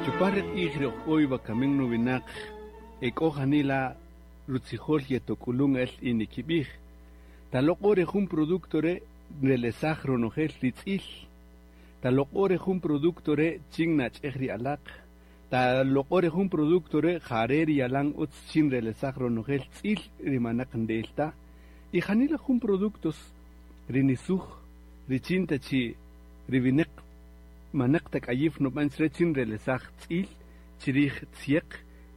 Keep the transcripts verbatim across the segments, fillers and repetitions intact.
Chupar q'ij ri oj wakamin nuwinaq ek'o janila rutzijol yetokulun el y nikib'ij taloq'o re jun producto re relesaj ronojel ritz'il taloq'o re jun producto re chin nach'ej ri alaq taloq'o re jun producto re jare ri yalan utz chin relesaj ronojel tz'il rimanaq ndelta y janila jun productos rinisuj richin ta chi riwineq manaq tak'ayif nub'an chre chin relesaj tz'il chirij tzieq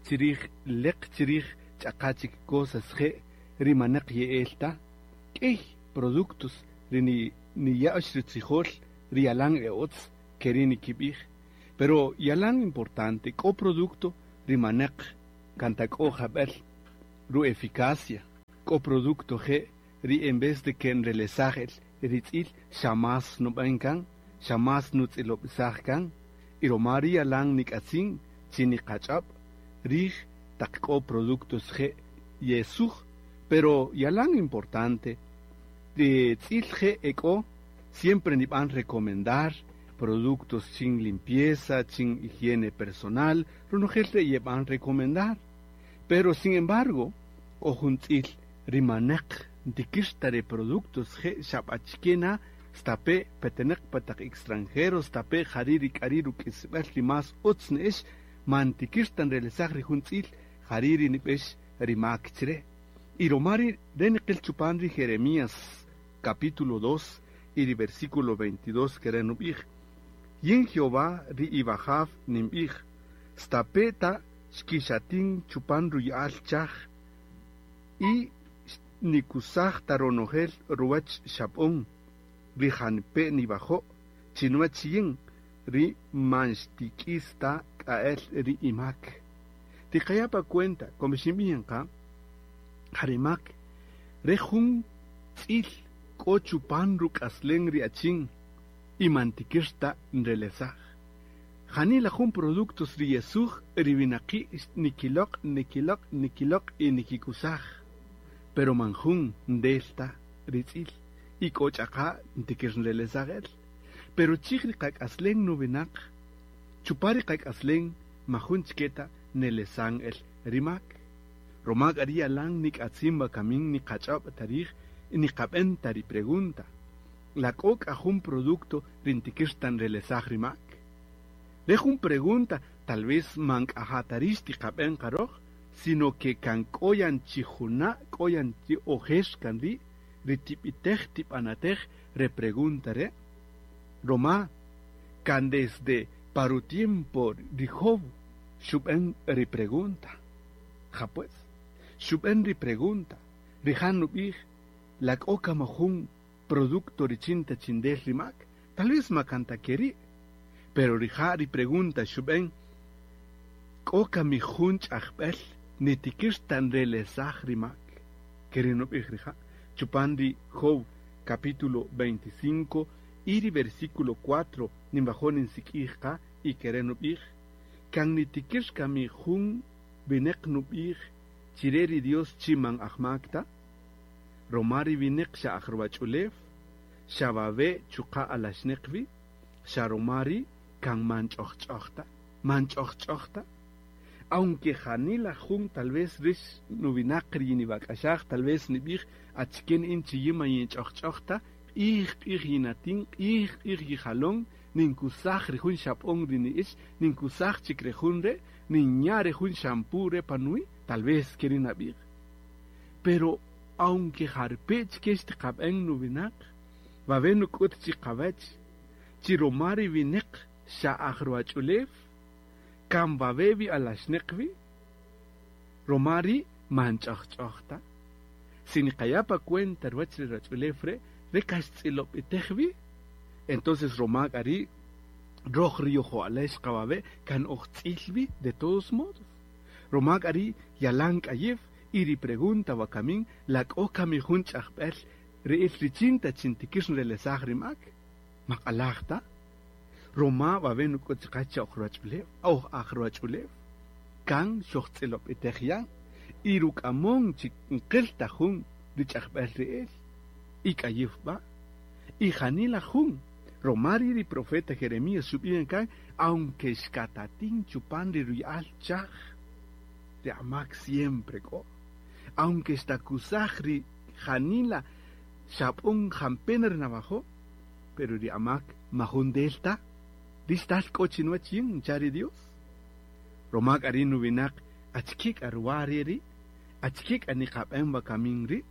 chirij leq chirij ch'aqa chik cosas je' rimanaq ye'elta k'ey productos ri ni niya'x ritzijol ri yalan e'otz keri nikib'ij pero yalan importante k'o producto rimanaq kanta k'o jab'el ru eficacia k'o producto je' ri en vez de que nrelesaj el ritz'il xa mas nub'an kan xa mas nutz'ilob'isaj kan y roma ri yalan nik'atzin chi niqach'ab' rij taq k'o productos je' yesuj pero yalan importante ri tz'il je' ek'o siempre nib'an recomendar productos chin limpieza chin higiene personal ronojel re yeb'an recomendar pero sin embargo k'o jun tz'il rimanaq ntikir ta re productos je' xab'achikena stape peteneq pataq extranjeros stape jari rik'ari ruk'isb'al ri mas utz ne'ex man tikir tan relesaj ri jun tz'il jari ri nib'ex rimak chre y roma ri re niqil chupan ri Jeremías capítulo dos y ri versículo veintidós kere nub'ij yin Jehová ri ibajaf nimb'ij stape ta xkixatin chupan ruya'al chaj y nikusaj ta ronojel ruwach xab'on ri janpe nibajo' chinuwach yin ri man xtik'is ta k'a'el ri imak tiqaya pa cuenta como xinb'in qa jarimak re jun tz'il k'o chupan ruk'aslen ri achin y man tikir ta nrelesaj janila jun productos ri yesuj ri winaqi' nikiloq' nikiloq' nikiloq' y nikikusaj pero man jun ndelta ritz'il y k'o ch'aqa ntikir nrelesaj el pero chij ri qak'aslen nuwinaq chupa ri qak'aslen majun chiketa nelesan el rimak roma k'a ri yalan nik'atzin wakamin niqach'ab' tarij niqab'en ta ri pregunta la k'o k'a jun producto ri ntikir ta nrelesaj rimak re jun pregunta tal vez man k'aja tarix tiqab'en qaroj sino que kan k'oyan chi juna' k'oyan chi ojex kan ri' ri tib'itej tib'anatej re pregunta re roma kan desde paru tiempo ri Job xub'en ri pregunta ja pues xub'en ri pregunta rijan nub'ij la k'o kama jun producto richin ta chindel rimak tal vez makanta keri' pero rija' ri pregunta xub'en k'o kami jun ch'ajb'el nitikir ta nrelesaj rimak keri nub'ij rija' chupan ri Job capítulo veinticinco y ri versículo cuatro ninbajo ninsik'ij qa y kere nub'ij kan nitikir kami jun wineq nub'ij chire ri Dios chi man ajmak ta roma ri wineq xa aj ruwach'ulew xa wawe' chuqa' alaxneq wi xa roma ri kan man ch'ojch'oj ta man ch'ojch'oj ta aunque janila jun tal vez rix nuwinaq ri yiniwak'axaj tal vez nib'ij achiken in chiyima yin ch'ojch'oj ta q'ij q'ij yinatin q'ij q'ij yijalon ninkusaj ri jun xab'on ri ni'ix ninkusaj chik ri jun re' ninya ri jun shampoo re panui tal vez keri nab'ij pero aunque jarpe' chike xtiqab'en nuwinaq wawe' nuk'ut chiqawach chi roma ri wineq xa aj ruwach'ulew kan wawe' wi alaxneq wi roma ri' man ch'ojch'oj ta si niqaya' pa cuenta ruwach ri ruwach'ulew re' re kaxtz'ilob'itej wi entonces roma k'a ri' roj ri yojo'alex qawawe' kan oj tz'il wi de todos modos roma k'a ri' yalan k'ayew y ri pregunta wakamin la k'o kami jun ch'ajb'el ri'il richin ta chintikir nrelesaj rimak maq'alaj ta roma wawe' nuk'ut chiqach cha oj ruwach'ulew oj aj ruwach'ulew kan xojtz'ilob'itej yan y ruk'amon chi nqil ta jun rich'ajb'el ri'el y k'ayew b'a' y janila jun roma ri ri profeta Jeremías xub'ij kan Aunque xkatatin chupan ri ruya'al chaj, ri amak siempre k'o. Aunque xtakusaj ri janila xap'un jampena ri navajo, pero ri amak majun delta, ri xtal k'o chinuwach yin ncha ri Dios. Roma k'a ri nuwinaq achike k'a ruwa ri ri, achike k'a niqab'en wakamin ri',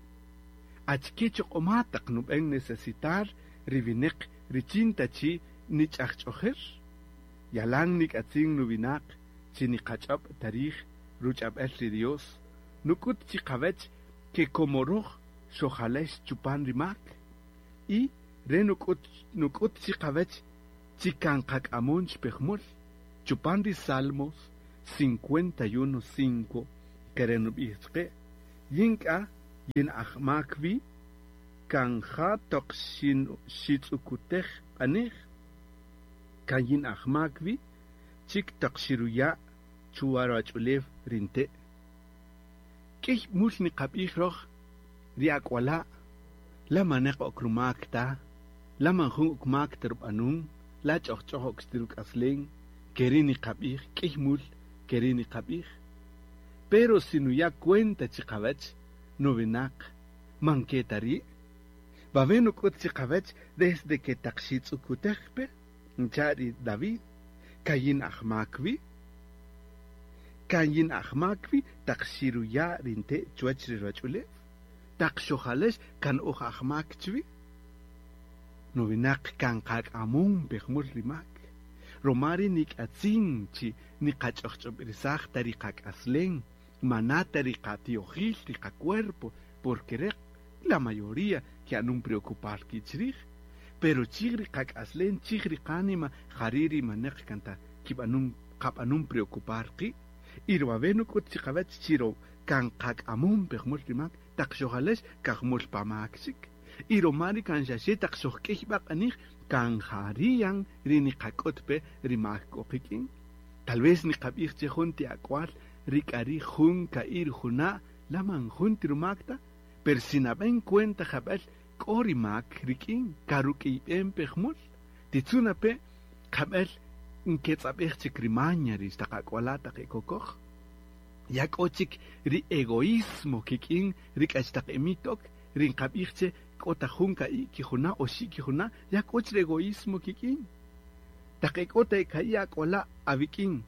achike choq'oma taq nub'en necesitar ri wineq richin ta chi nich'ajch'ojer. Yalan nik'atzin nuwinaq chi niqach'ob' tarij ruch'ab'el ri Dios, nuk'ut chi qawech ke komoroj xojalex chupan ri mak, y re nuk'ut nuk'ut chi qawech chi kan qak'amon chpejmul, chupan ri Salmos cincuenta y uno cinco, kere nub'ij chqe, yin k'a yin ajmak wi, kan ja toq xin xitz'ukutej q'anej, kan yin ajmak wi, chik toq xiruya' chuwa ruwach'ulew rinte'. K'ey mul niqab'ij roj ri ak'wala', la maneq ok rumak ta, la man jun ok mak ta rub'anun, la ch'ojch'oj ok xtiruk'aslen, keri niqab'ij, k'ey mul keri niqab'ij. Pero si nuya' cuenta chiqawach, nuwinaq, man ke ta ri'. Wawe' nuk'ut chiqawach desde que taq xitz'ukutej pe, ncha ri David, kayin ajmak wi, kayin ajmak wi taq xiruya' rinte' chuwach ri ruwach'ulew, taq xojalex kan oj ajmak chwi. Nuwinaq kan qak'amun pejmul ri mak. Romari nik'atzin chi niqach'ojch'ob'irisaj ta ri qak'aslen, manata ri qatiojil ri qacuerpo, porque re la mayoría que anun preocupar kichrij, pero chij ri qak'aslen, chij ri qánima, jari ri maneq kanta kib'anun qab'anun preocupar qi', y ruwawe nuk'ut chiqawach chiro kan qak'amun pejmul ri mak, taq xojalex kajmul pamak chik. Y romari kan xaxe taq xojk'ey b'aq'anij, kan jariyan ri niqak'ut pe ri mak k'o qik'in. Tal vez niqab'ij che jun ti ak'wal ri k'ari jun ka'ir juna' la man jun ti rumak ta, pero si nab'en cuenta jab'el k'o ri mak rik'in karuk'iyb'en pejmul. Titzuna pe jab'el nketz'ab'ej chik ri maña ri xtaq ak'wala' taq ekokoj. Ya k'o chik ri egoísmo kik'in ri k'achtaq emitok, ri nqab'ij che k'o ta jun ka'i kijuna' oxi' kijuna', ya k'o chik ri egoísmo kik'in. Taq ek'o ta ka'i ak'wala' awik'in,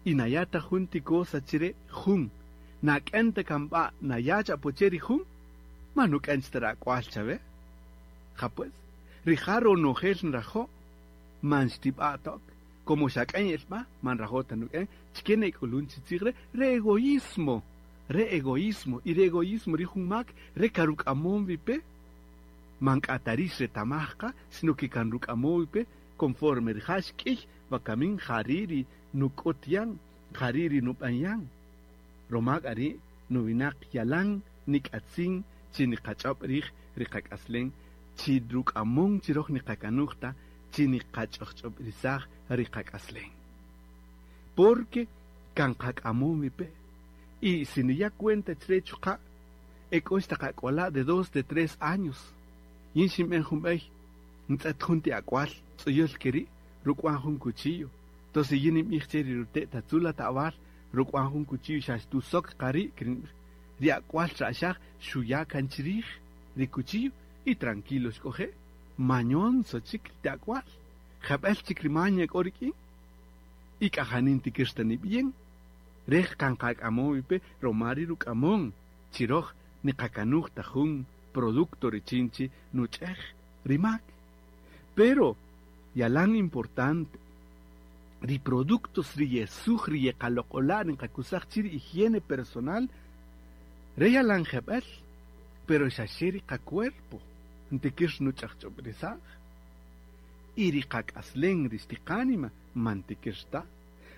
y naya' ta jun ti cosa chire jun, nak'en ta kan b'a' naya' ch'apo che ri jun, ma nuk'en ta ra ak'wal chawe. Ja pues, rija' ronojel nrajo', man xtib'a' tok, como xak'en elb'a, man rajo' ta nuk'en, chike nek'ulun chi tzij re, re egoísmo, re egoísmo, y re egoísmo ri jun mak, re karuk'amon wipe, man k'atarix retamajqa, sino que kan ruk'amon wipe, conforme rija' xk'iy, wakamin jari ri nuk'ut yan, jari ri nub'an yan. Roma k'a ri' nuwinaq yalan nik'atzin chi niqach'ob' rij ri qak'aslen, chi ruk'amon chi roj niqakanuj ta, chi niqach'ojch'ob'irisaj ri qak'aslen. Porque kan qak'amon wipe. Y si niya' cuenta chire chuqa', ek'o xtaq ak'wala' de dos, de tres años. Yin xinb'en jun b'ey, ntz'et jun ti ak'wal, tz'uyul keri', ruk'wan jun cuchillo. Entonces yin ninb'ij che ri rute' tatzula ta'wal, ruk'wan jun cuchillo xa xtusok qari', ri ak'wal ra'xaj xuya' kan chirij ri cuchillo y tranquilo xk'oje'. Mañonso chik ti ak'wal, jab'el chik ri maña k'o rik'in. Y k'ajanin tikir ta nib'ien. Rej kan qak'amon wipe, roma ri ruk'amon, chiroj niqakanuj ta jun producto richin chi nuch'ej ri mak. Pero yalan importante, ri productos ri yesuj ri yeqaloq'ola' niqakusaj chi ri higiene personal, re yalan jeb'el, pero xaxe ri qacuerpo, ntikir nuch'ajch'ob'irisaj. Y ri qak'aslen ri xtiqánima man tikir ta.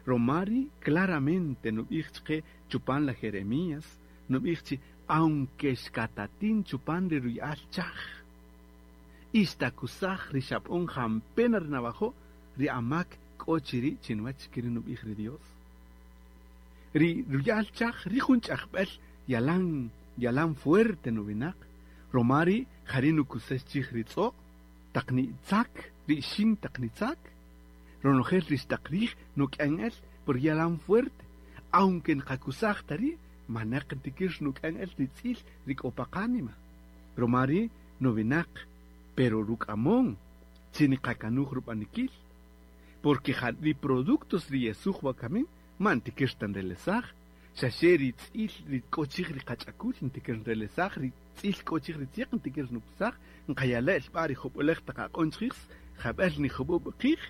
Romari claramente nub'ij chqe chupan la Jeremías, nub'ij chi aunque xkatatin chupan ri ruya'al chaj, ixtakusaj ri xap'on jampena ri navajo, ri amak k'o chiri' chinwach kiri nub'ij ri Dios. Ri ruya'al chaj, ri jun ch'ajb'el yalan, yalan fuerte nuwinaq, romari jari nukusex chij ri tz'o', taq nitzak, ri ixin taq nitzak, Ronojel rixtaq rij nuk'an el por yalan fuerte. Aunque nqakusaj tari, manak ntikir nuk'an el ritz'il rik'o pa qánima. Romari nuwinaq, pero ruk'amon, chi niqakanuj rub'anikil. Porque ri productos ri yesuj wakamin, man ntikir tan relesaj. Xa xe ritz'il ri k'o chij ri qach'akul ntikir nrelesaj, ri tz'il k'o chij ri tzieq ntikir nukusaj, nqayala' b'a ri jub'ulej taq aq'on chij, jab'el ni jub'ub' qij,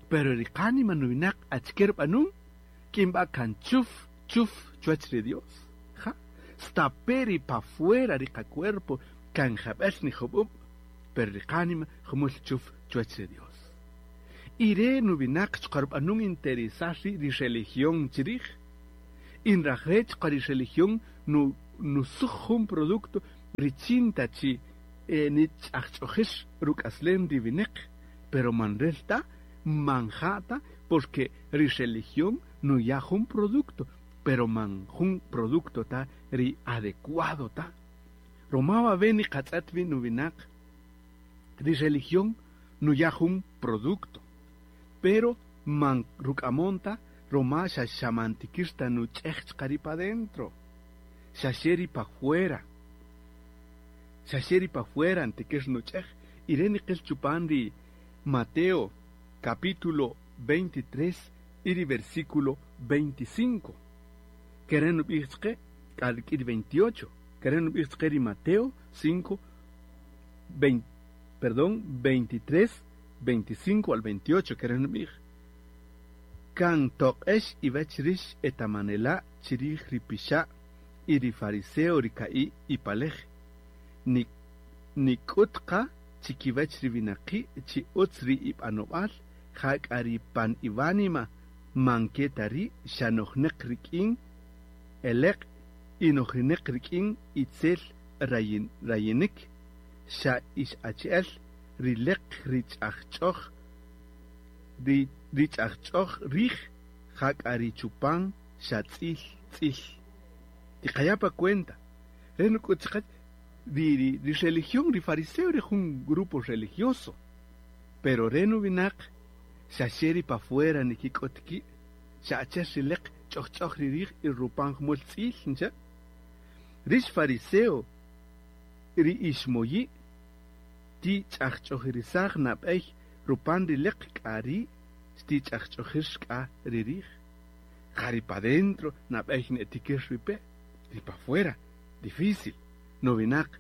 pero ri qánima nuwinaq achike rub'anun, k'in b'a kan chuf chuf chuwach ri Dios. Ja, stape ri pa fuera ri qacuerpo kan jab'el ni jub'ub', pero ri qánima jumul chuf chuwach ri Dios. Y re nuwinaq chuqa' rub'anun interesar ri ri religión chirij. Inrajre chuqa' ri religión nu nusuj jun producto richin ta chi eh, nich'ajch'ojix ruk'aslem ri wineq, pero man rel ta, man ja ta, porque ri religión nuya jun producto, pero man jun producto ta ri adecuado ta. Roma wawe niqatz'et wi nuwinaq, ri religión nuya jun producto, pero man ruk'amon ta, roma xa xamantikir ta nuch'ej chuqa' ri pa dentro, xa xe ri pa fuera, xa xe ri pa fuera ntikir nuch'ej. Y re niqil chupan ri Mateo capítulo veintitrés y ri versículo veinticinco. Kere nub'ij chqe, k'a rik'in ri veintiocho. Kere nub'ij chqe ri Mateo cinco, vein, perdón, veintitrés, veinticinco al veintiocho, kere nub'ij. Kan toq'ex iwech rix etamanela' chirij ri pixa' y ri fariseo ri ka'i ipalej. Ni, nik'ut qa chikiwech ri winaqi' chi utz ri ib'anob'al, jak'a ri pan iwánima man ke ta ri' xa nojneq rik'in eleq' y nojineq rik'in itzel rayin, rayinik, xa ix achi'el ri leq ri ch'ajch'oj, ri, ri ch'ajch'oj rij, jak'a ri chupan xa tz'il tz'il. Tiqaya' pa cuenta, re nuk'ut chiqach, ri, ri, ri religión, ri fariseo ri jun grupo religioso, pero re nuwinaq xa xe ri pa fuera nikik'ut ki', xa achi'el ri leq ch'ojch'oj ri rij y rupan jumul tz'il, ncha. Rix fariseo, ri ixmoyi', ti ch'ajch'ojirisaj nab'ey rupan ri leq k'a ri' ti ch'ajch'ojir k'a ri rij. Ja ri pa dentro nab'ey netikir ripe, ri pa fuera, difícil. Nuwinaq,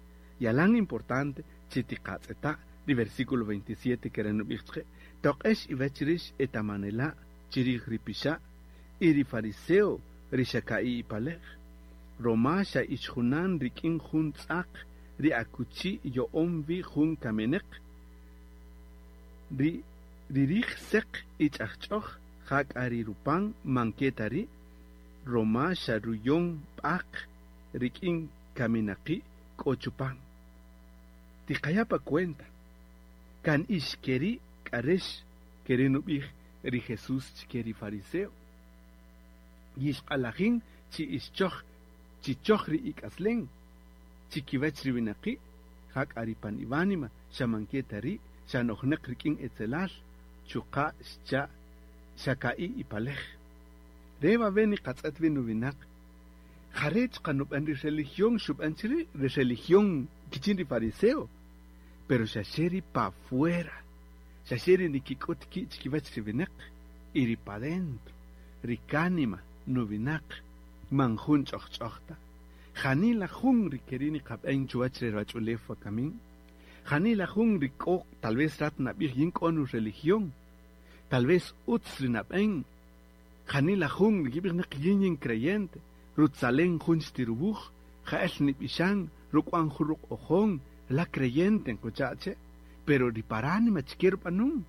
yalan importante chi tiqatz'eta' ri versículo veintisiete kere nub'ij chqe, toq'ex iwech rix etamanela' chirij ri pixa' y ri fariseo ri xa ka'i ipalej. Roma xa ixjunan rik'in jun tz'aq ri akuchi yo'on wi jun kameneq, ri, ri rij seq y ch'ajch'oj jak'a ri rupan man ke ta ri', roma xa ruyon b'aq rik'in kaminaqi' k'o chupan. Tiqaya' pa cuenta, kan ix keri' k'arex keri' nub'ij ri Jesús chike ri fariseo. Yixq'alajin chi ixchoj, chi choj ri ik'aslen, chi kiwech ri winaqi', jak'a ri pan iwánima, xa man ke ta ri', xa nojneq rik'in etzelal, chuqa' xcha' xa ka'i ipalej. Re wawe niqatz'et wi nuwinaq, jare' chuqa' nub'an ri religión xub'an chiri', ri religión kichin ri fariseo, pero xa xe ri pa fuera, xa xe ri nikik'ut ki' chikiwach ri winaq, y ri pa dentro, ri kánima nuwinaq, man jun ch'ojch'oj ta. Janila jun ri keri' niqab'en chuwach ri ruwach'ulew wakamin. Janila jun ri k'o, tal vez rat nab'ij yin k'o nu religión, tal vez utz ri nab'en. Janila jun ri kib'ij naq yin yin creyente, rutzalen jun xtirubuj, ja'el nib'ixan, ruk'wan jun ruq'ojon, la creyente nkuchache, pero ri paránima chike rub'anun,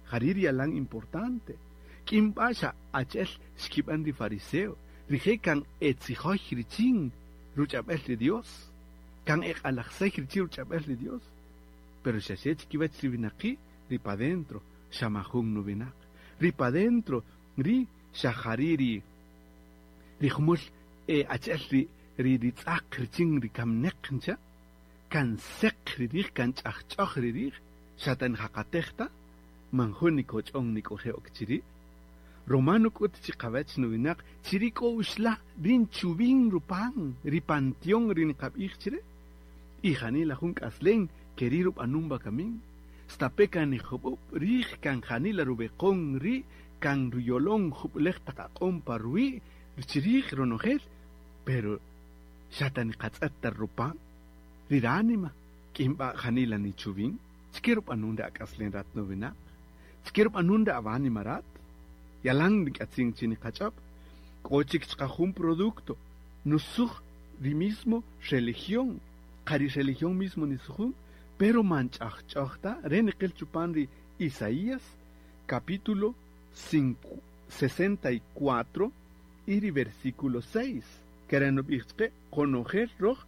jari' ri yalan importante. K'in b'a xa achi'el xkib'an ri fariseo, rije' kan etzijoy richin ruch'ab'el ri Dios, kan eq'alajsej richin ruch'ab'el ri Dios, pero xa xe chikiwach ri winaqi' ri pa dentro, xa majun nuwinaq. Ri pa dentro, ri xa jari' ri, ri jumul, eh, achi'el ri, ri, ri tz'aq richin ri kamneq ncha, kan seq ri rij, kan ch'ajch'oj ri rij, xa tan jaqatej ta, Man jun nikoch'on nik'oje ok chiri'. Romano k'ut chiqawech nuwinaq chiri' k'o uxla' rin chubin rupan ri panteón ri niqab'ij chire. Y janila jun k'aslen keri' rub'anun bakamin. Stape kan nijub'ub' rij kan janila rubeqon ri' kan ruyolon jub'ulej taq aq'om pa ruwi' chirij ronojel, pero xata niqatz'et ta rupan ri ránima k'inb'a janila nichubin. Chike rub'anun ri ak'aslen rat nuwinaq, chike rub'anun ri awánima rat. Yalan nik'atzin chi niqach'ab', k'o chik chqa jun producto nusuj ri mismo religión, qa ri religión mismo nisujun, pero man ch'ajch'oj ta re niqil chupan ri Isaías capítulo sesenta y cuatro y ri versículo seis, que nub'ij chqe qonojel roj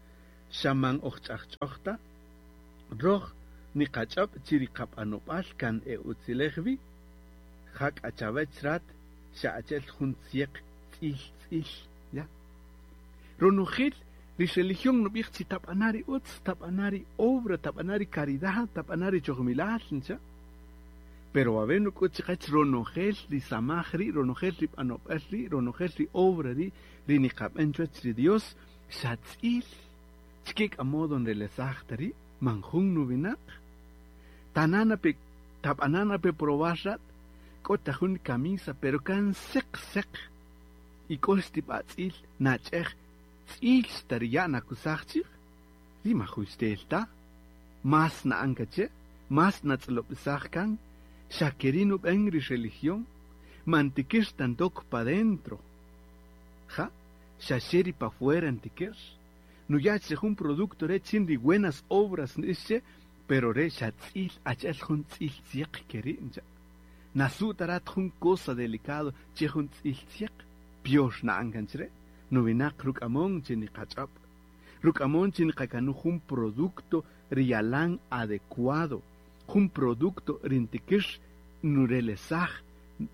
xaman oj ch'ajch'oj ta, roj niqach'ab' chi ri qab'anob'al kan e utzilej wi, jak achawech rat xa achel jun tzieq tz'il tz'il, ya. Ronojel ri religión nub'ij chi tab'ana ri utz, tab'ana ri obra, tab'ana ri caridad, tab'ana ri chojmilal, ncha. Pero a ver nuk'ut chiqach ronojel ri samaj ri, ronojel ri b'anob'al ri, ronojel ri obra ri, ri niqab'an chuwach ri Dios, xa tz'il. Chike k'a modo nrelesaj ta ri, man jun nuwinaq. Tanana pe, tab'anana pe probar rat, k'o ta jun camisa, pero kan seq seq. Y k'o xtib'a tz'il nach'ej tz'il xtariya' nakusaj chij, ri majun xtel ta, más na'an kache, más natz'ilob'isaj kan, xa keri' nub'en ri religión, man tikir tantok pa dentro. Ja, xa xe ri pa fuera ntikir. Nuya' che jun producto re chin ri buenas obras nixche, pero re xa tz'il ach'el jun tz'il tzieq keri' ncha. Nasu tarat jun cosa delicado che jun tz'il tzieq, pior na'an kan chre. Nuwinaq ruk'amon chi niqach'ab', ruk'amon chi niqakanu jun producto riyalan adecuado, jun producto rintikir nurelesaj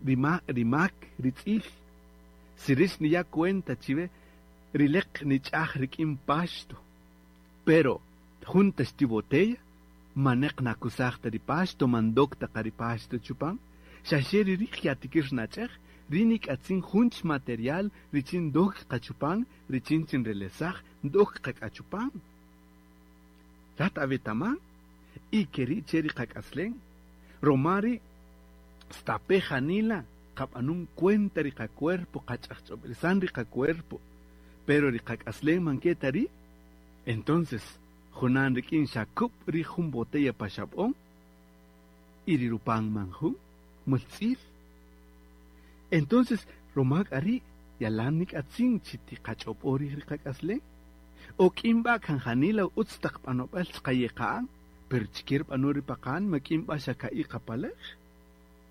rima, rimak ritz'il. Si rix niya cuenta chive, rileq nich'aj rik'in paxto, pero junta xti botella, maneq nakusaj ta ri paxto, mandok ta qa ri paxto chupan, xa xe ri rij yatikir nach'ej, ri nik'atzin junch material richin dok qachupan, richin chin relesaj dok qak'achupan. Rat awetaman, y keri' che ri qak'aslen. Romari stape janila qab'anun cuenta ri qacuerpo, qach'ajch'ob'elisan ri qacuerpo, pero ri qak'aslen man ke ta ri'. Entonces, junan rik'in xakub' ri jun botella pa xab'on y ri rupan man jun multz'il. Entonces, romak ari yalan nik'atzin chi tiqach'ob'o rij ri qak'aslen. O k'inb'a kan janila utz taq b'anob'al chqayeqa'an, pero chikir b'ano ri paqan ma k'inb'a xa ka'i qapalej.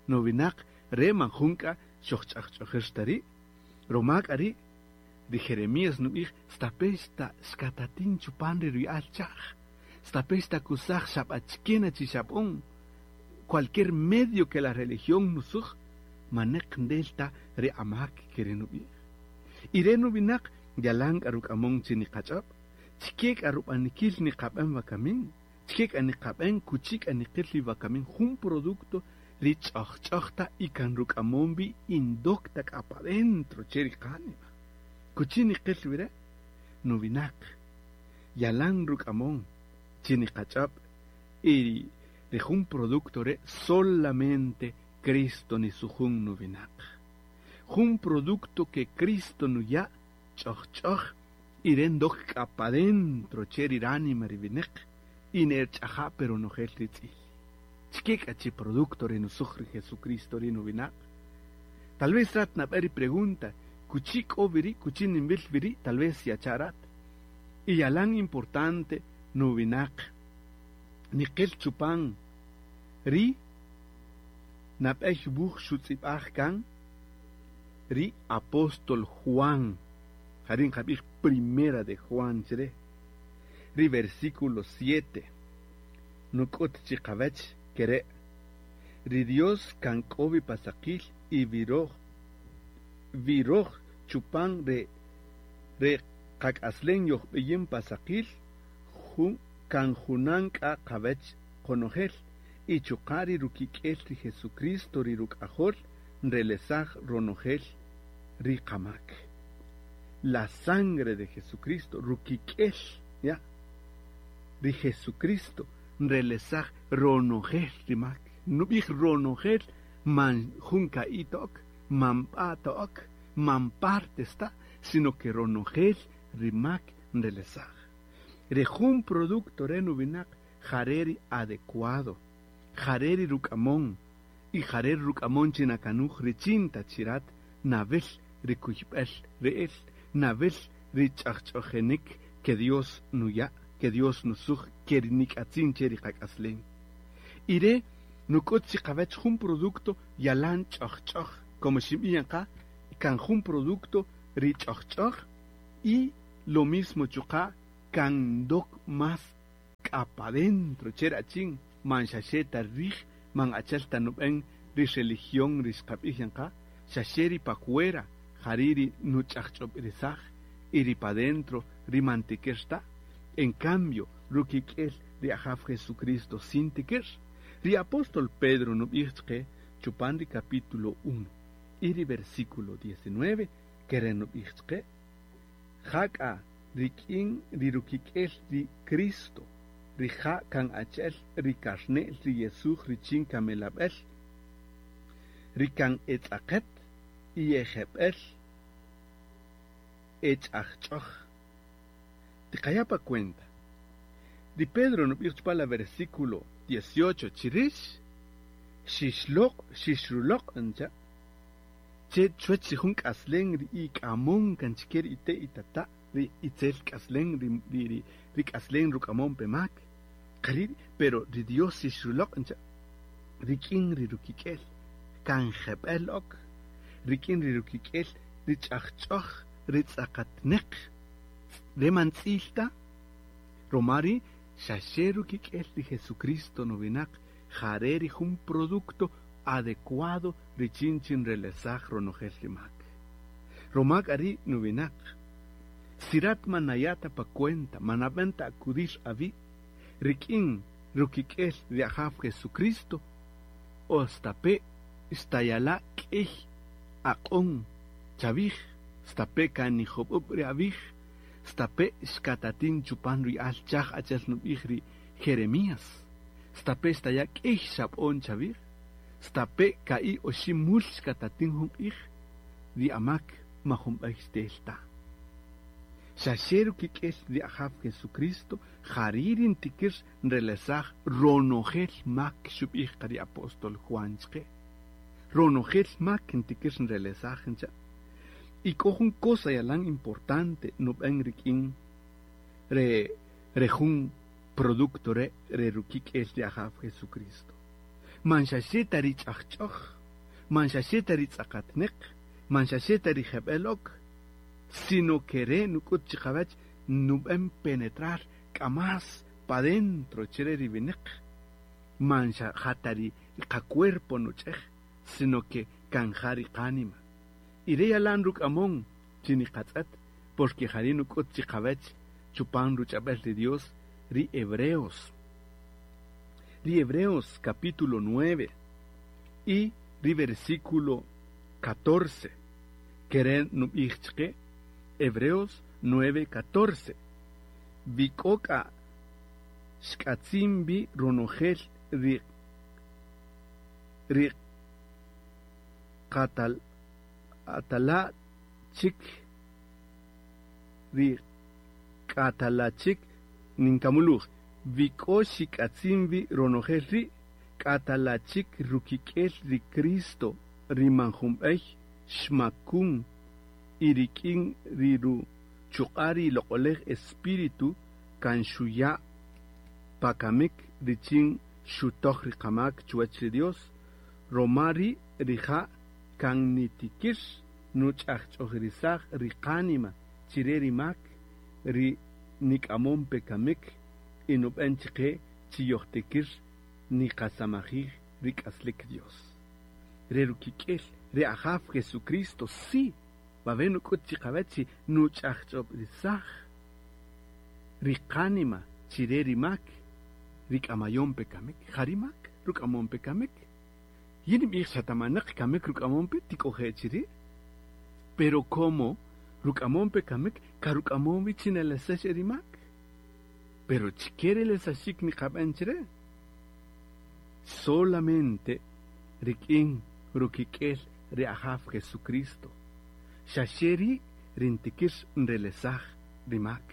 Nowinaq re man jun k'a xojch'ajch'ojir ta ri'. Romak ari ri Jeremías nub'ij stape xta xkatatin chupan ri ruya'al chaj, stape xtakusaj xab'achkena chi xab'on, cualquier medio que la religión nusuj, maneq ndelta ri amak kere nub'ij. Y re nub'inaq yalan k'a ruk'amon chi niqach'ab', chike k'a rub'anikil niqab'an wakamin, chike k'a niqab'an kuchi k'a niqil ri wakamin jun producto ri ch'ojch'ojta y kan ruk'amon bi indocta k'a pa dentro che ri qánima. Kuchi niqil wire nub'inaq yalan ruk'amon chi niqach'ab' y ri jun producto re solamente Cristo nisujun nub'inaq. Jun producto que Cristo nuya' ch'ojch'oj y ren dok k'a pa dentro che ri ránima ri wineq y nerch'aja' pero nojel ri tz'il. Chike k'a chi producto ri nusuj ri Jesucristo ri nub'inaq. Tal vez rat nab'e ri pregunta, kuchi k'o wiri', kuchi ninb'il wiri', tal vez yacha' rat. Y yalan importante nub'inaq niqil chupan ri nab'ey wuj xutz'ib'aj kan ri apóstol Juan. Jarin qab'ij primera de Juan chre. Ri versículo siete. Nuk'ut chiqawech kere. Ri Dios kan k'o wi pasaqil y viroj viroj chupan re re qak'aslen yojb'iyin pasaqil jun kan junan k'a qawech qonojel. Y chuqa' ri rukik'el ri Jesucristo ri ruk'ajol nrelesaj ronojel ri qamak. La sangre de Jesucristo, rukik'el, ya. Ri Jesucristo nrelesaj ronojel ri mak. Nub'ij ronojel man jun ka'i' tok, man b'a tok, man partes ta, sino que ronojel ri mak nrelesaj. Re jun producto re nuwinaq jare ri adecuado, jare ri ruk'amon, y jare ri ruk'amon chinakanуj richin ta chirat nawel ri kuyb'el re'el, nawel ri ch'ajch'ojenik que Dios nuya', que Dios nusuj, que ri nik'atzin che ri qak'aslen. Y re nuk'ut chiqawech jun producto yalan ch'ojch'oj, como xinb'iyan qa, kan jun producto ri ch'ojch'oj y lo mismo chuqa' kan dok más k'a pa dentro che rachin man xaxe ta rij, man achel ta nub'en ri religión ri xqab'ij qa, xaxe ri pa fuera, jari ri nuch'ajch'ob'irisaj y ri pa dentro ri mantikir ta. En cambio, rukik'el ri Ajaw Jesucristo sin tikir. Ri apóstol Pedro nub'ij chqe chupan ri capítulo uno y ri versículo diecinueve kere nub'ij chqe jak'a rik'in ri rukik'el ri Cristo ri ja kan achel ri karne'l ri Jesús richin kamelab'el ri kan etz'aqet y ejeb'el ech'ajch'oj. Tiqaya pa cuenta. Ri Pedro nub'ij chupan la versículo dieciocho chirix xixloq' xixruloq' ncha che chuwach ri jun k'aslen ri ik'amon kan chike ri ite' itata' ri itzel k'aslen ri ri ri ri k'aslen ruk'amon pemak qari pero ri Dios xixruloq' ncha rik'in ri rukik'el kan jeb'el ok rik'in ri rukik'el ri ch'ajch'oj ri tz'aqatneq re man tz'il ta romari xaxe rukik'el ri Jesucristo nuwinaq jare ri jun producto adecuado richin chin relesaj ronojel ri mak. Romak ari nuwinaq sirat manayata pa cuenta manab'enta acudir avi rik'in rukik'el ri Ajaw Jesucristo ostape istayala k'ij aq'on chavij stape kanijob'ub ri avij stape xkatatin chupan ri al chaj achel nub'ij ri Jeremías stape staya k'ij xab'on chavij stape ka'i oxi mul xkatatin jun q'ij ri amak majun b'ey xtel ta. Xaxe rukik'el ri Ajaw Jesucristo jari ntikir nrelesaj ronojel mak xub'ij qa ri apóstol Juan chqe. Ronojel mak ntikir nrelesaj ncha. Y k'o jun cosa yalan importante nub'en rik'in re re jun producto re re rukik'el ri Ajaw Jesucristo. Man xaxe ta ri ch'ajch'oj, man xaxe ta ri tz'aqatneq, man xaxe ta ri jeb'el ok, sino que re nuk'ut chiqawach nub'en penetrar k'a más pa dentro chire ri wineq. Man xa jata ri qacuerpo nuch'ej, sino que kan ja ri qánima. Y re yalan ruk'amon chiniqatz'et, porque jari nuk'ut chiqawach chupan ruch'ab'el ri Dios ri Hebreos. Ri Hebreos capítulo nueve y ri versículo catorce. Keren nub'ij chqe Hebreos nueve catorce. Vik'oka xk'atzin bi ronojel ri ri qatal atala chik ri k'atalachik ninkamuluj vik'o xik'atzin bi ronojel ri k'atalachik rukik'el ri Cristo ri manjun b'ey xmakun y rik'in ri ruchuq'a ri loq'olej espíritu kan xuya' pakamik richin xutoj ri qamak chuwach ri Dios romari rija' kan nitikir nuch'ajch'ojirisaj ri qánima chire ri mak ri nik'amon pekamik y nub'en chqe chiyojtikir niqasamajij ri k'aslik Dios. Re rukik'el ri Ajaw Jesucristo sí babe nuk'ut chiqawach nuch'ajch'ob'risaj ri qánima chire ri mak ri k'amayon pekamik jari mak ruk'amon pe kamik. Yin nb'ij xa tamanaq kamik ruk'amon pe tik'oje' chiri'. Pero como ruk'amon pe kamik ka ruk'amon wi chi nelesax ri mak. Pero chike relesaxik niqab'an chire. Solamente rik'in rukik'el ri Ajaw Jesucristo. Xaxe ri' rintikir nrelesaj ri mak,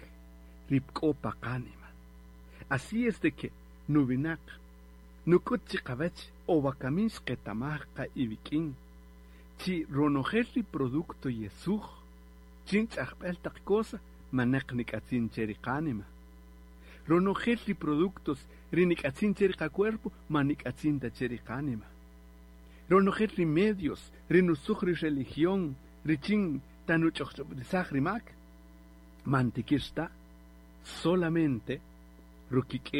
ri k'o pa qánima. Así es de que nuwinaq nuk'ut chiqawach o wakamin xqetamaj qa iwik'in chi ronojel ri producto yesuj chin ch'ajb'el taq cosa maneq nik'atzin che ri qánima. Ronojel ri productos ri nik'atzin che ri qacuerpo ma nik'atzin ta che ri qánima. Ronojel ri medios ri nusuj ri religión ri chin tanuch'ojch'ob'risaj ri mak man tikir ta solamente rukik'el